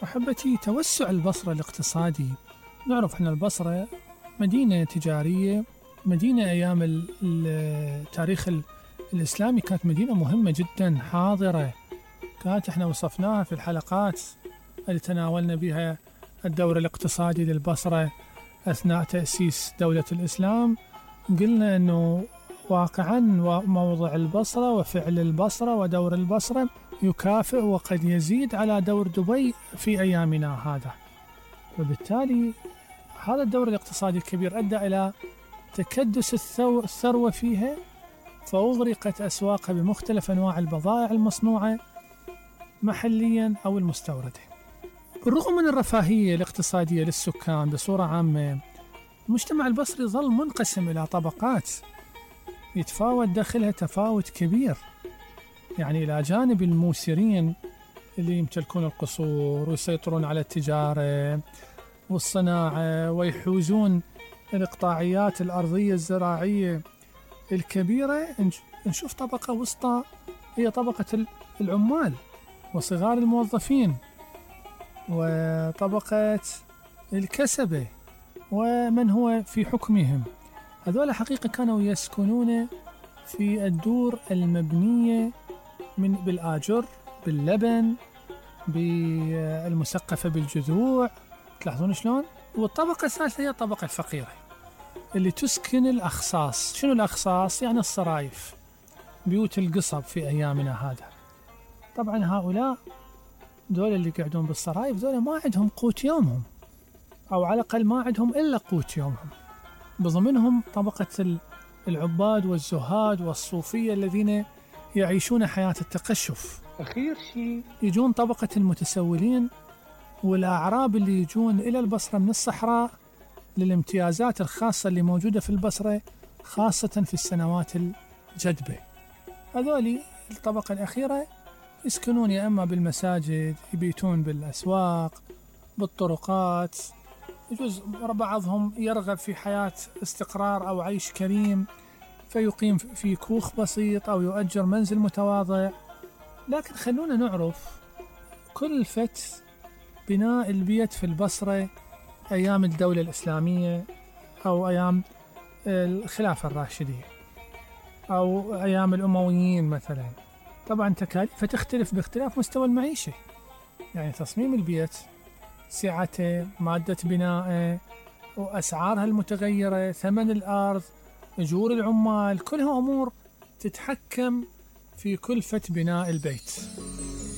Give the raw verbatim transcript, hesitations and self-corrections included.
أحبتي، توسع البصرة الاقتصادي. نعرف أن البصرة مدينة تجارية، مدينة أيام التاريخ الإسلامي كانت مدينة مهمة جدا حاضرة، كانت احنا وصفناها في الحلقات اللي تناولنا بها الدور الاقتصادي للبصرة أثناء تأسيس دولة الإسلام. قلنا أنه واقعا موضع البصرة وفعل البصرة ودور البصرة يكافئ وقد يزيد على دور دبي في أيامنا هذا، وبالتالي هذا الدور الاقتصادي الكبير أدى إلى تكدس الثروة فيها، فأغرقت أسواقها بمختلف أنواع البضائع المصنوعة محليا أو المستوردة. بالرغم من الرفاهية الاقتصادية للسكان بصورة عامة، المجتمع البصري ظل منقسم إلى طبقات يتفاوت داخلها تفاوت كبير. يعني إلى جانب الموسرين اللي يمتلكون القصور ويسيطرون على التجارة والصناعة ويحوزون الإقطاعيات الأرضية الزراعية الكبيرة، نشوف طبقة وسطى هي طبقة العمال وصغار الموظفين وطبقة الكسبة ومن هو في حكمهم. هذول حقيقة كانوا يسكنون في الدور المبنية من بالآجر، باللبن، بالمسقفة بالجذوع، تلاحظون شلون؟ والطبقة الثالثة هي الطبقة الفقيرة اللي تسكن الأخصاص. شنو الأخصاص؟ يعني الصرايف، بيوت القصب في أيامنا هذا. طبعا هؤلاء دول اللي قاعدون بالصرايف دول ما عندهم قوت يومهم، أو على الأقل ما عندهم إلا قوت يومهم. بضمنهم طبقة العباد والزهاد والصوفية الذين يعيشون حياة التقشف. أخير شيء يجون طبقة المتسولين والأعراب اللي يجون إلى البصرة من الصحراء للامتيازات الخاصة اللي موجودة في البصرة، خاصة في السنوات الجدبة. هذولي الطبقة الأخيرة يسكنون يا أما بالمساجد، يبيتون بالأسواق، بالطرقات. يجوز بعضهم يرغب في حياة استقرار أو عيش كريم فيقيم في كوخ بسيط أو يؤجر منزل متواضع. لكن خلونا نعرف كلفة بناء البيت في البصرة أيام الدولة الإسلامية أو أيام الخلافة الراشدية أو أيام الأمويين مثلا. طبعا تكاليف تختلف باختلاف مستوى المعيشة، يعني تصميم البيت، سعته، مادة بنائه، وأسعارها المتغيرة، ثمن الأرض، أجور العمال، كلها أمور تتحكم في كلفة بناء البيت.